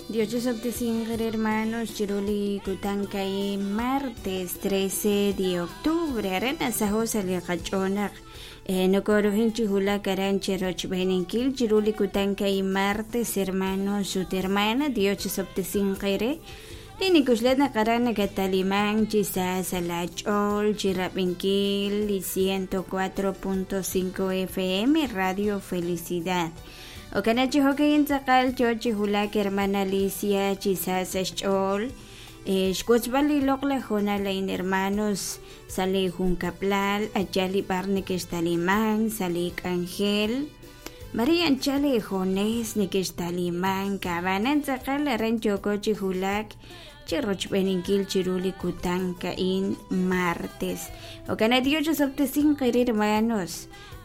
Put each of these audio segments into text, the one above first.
Dios chisob'tesinq eere hermanos chiru li kutan ka'in martes 13 de octubre aran nasaho' sa' li qach'ool naq eh, nokorujin chi wulak aran cherochb'eeninkil chiru li kutan ka'in martes hermanos ut hermana Dios chisob'tesinq eere li nikuxla naq aran nakatalimank chi sa sa' laach'ool chi rab'inkil li 104.5 FM Radio Felicidad Jo'kan chi jo'ka'in tz'aqal yoo chi wulak hermana Alicia chi sa sa' xch'ool xwotzb'al li loq'laj hoonal a'in hermanos sa' li junkab'lal a' li b'ar nekextalimank sa' li k'anjel mare anchal eejunes nekextalimank ab'anan tz'aqal aran yooko chi wulak chi rochb'eeninkil chiru li kutan a'in martes jo'kan naq Dios chisob'tesinq eere hermanos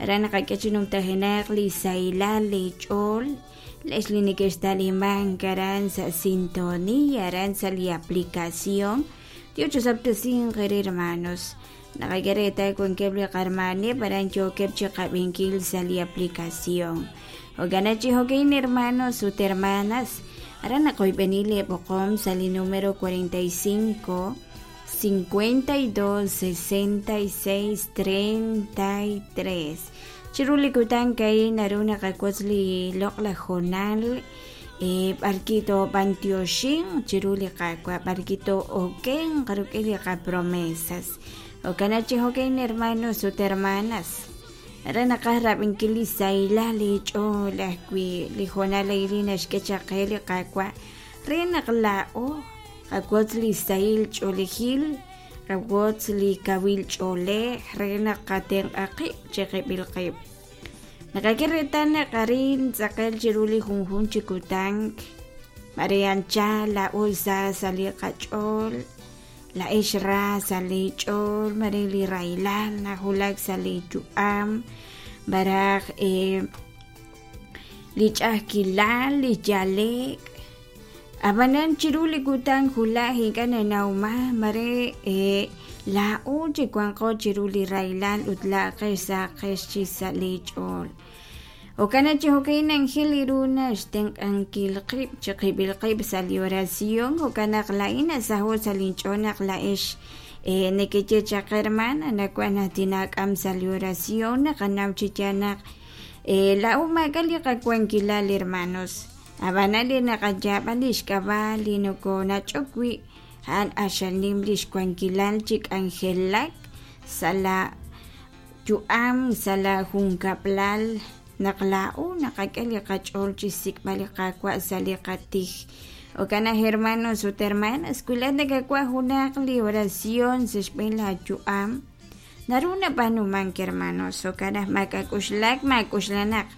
Aran naqak'e chi numtajenaq li sahilal li ch'ool lex li nekextalimank aran sa' sintonía aran sa' li aplicación Dios chisob'tesinq eere hermanos naqak'e reetal wankeb' li qarmaaneb' aran yookeb' chi qab'inkil sa' li aplicación jo'kan chi jo'ka'in hermanos ut hermanas aran naqoyb'eni lee b'oqom sa' li número 45 52 66 33. Chiru li kutan ka'in naru naqawotz li loq'laj hoonal e, b'arwi' toob'antioxinq chiru li Qaawa' b'arwi' too'okenq rik'in li qapromesas. Jo'kan chi jo'kan hermanos ut hermanas re naqaj rab'inkil li sahilal li ch'ool ajwi' li hoonal a'in li naxk'e chaq qe li Qaawa' re naq laa'o Qawotz li sahil ch'oolejil, qawotz li kawil ch'oolej re naq qatenq'a qib' chiqib'il qib'. Naqak'e reetal naq arin tz'aqal chiru li junjunq chi kutan, mare anchal laa'o sa sa' li qach'ool, laa'ex ra sa' li ch'ool, mare li rahilal nawulak sa' li yu'am, malaj li ch'a'ajkilal, li yale'k. Ab'anan chiru li kutan wulaj ink'a' nanawman mare laa'o chi wanqo chiru li rahilal ut laa'aqex sahaqex chi sa' li ch'ool. Jo'kan naq chi jo'ka'in anjel ru naxtenq'ankil qib' chiqib'il qib' sa' li oración jo'kan naq laa'in nasaho' sa' linch'ool naq laa'ex nekeye chaq hermana nawaj naq tinaak'am sa' li oración naqanaw chi yaal naq laa'o maak'a' li qawankilal hermanos. Ab'anan li naqayaab'a li xk'ab'a' li nokonach'ok wi' a'an q'axal nim li xwankilal chi k'anjelak sa' la yu'am, sa' la junkab'lal, naq laa'o naqak'e li qach'ool chi xsik'b'al li Qaawa' sa' li qatij. Jo'kan naq hermanos ut hermanas, wi laa'at nakawaj junaq li oración sa' xb'een laayu'am, Naru nab'aanumank hermanos, jo'kan naq maak'a'uxlak maak'uxla naq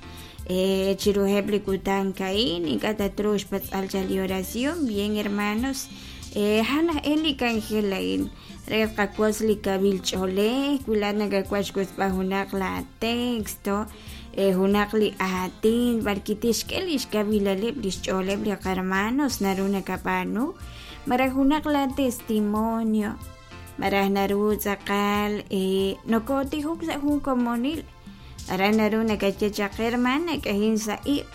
chiruheb' li kutan a'in ink'a' tatruuq xpatz'b'al chaq li oración. Bien hermanos, a'an aj e li k'anjel a'in re tqawotz li kawil ch'oolej, wi laa'at nakawaj xwotzb'al junaq laa texto, junaq li aatin b'arwi' tixk'e li xkawilaleb' li xch'ooleb' li qahermanos naru nakab'aanu, malaj junaq laa testimonio. Malaj naru tz'aqal nokotijok sa' jun komonil. Aran naru nakaye chaq hermana k'ahin sa' iq'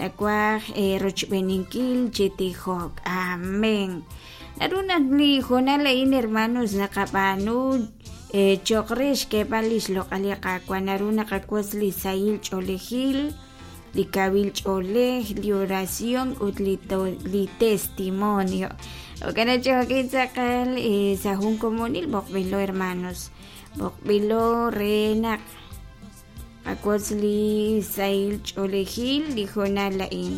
nawaj rochb'eeninkil chi tijok. Amén. Naru naq li hoonal a'in hermanos naqab'aanu cho'q re xk'eeb'al li xloq'al li Qaawa' naru naqawotz li sahil ch'oolejil, li kawil ch'oolej, li oración ut li testimonio. Jo'kan naq chi jo'kin tz'aqal sa' jun komonil b'oqb'ilo hermanos, b'oqb'ilo re naq qawotz li sahil ch'oolejil li hoonal a'in.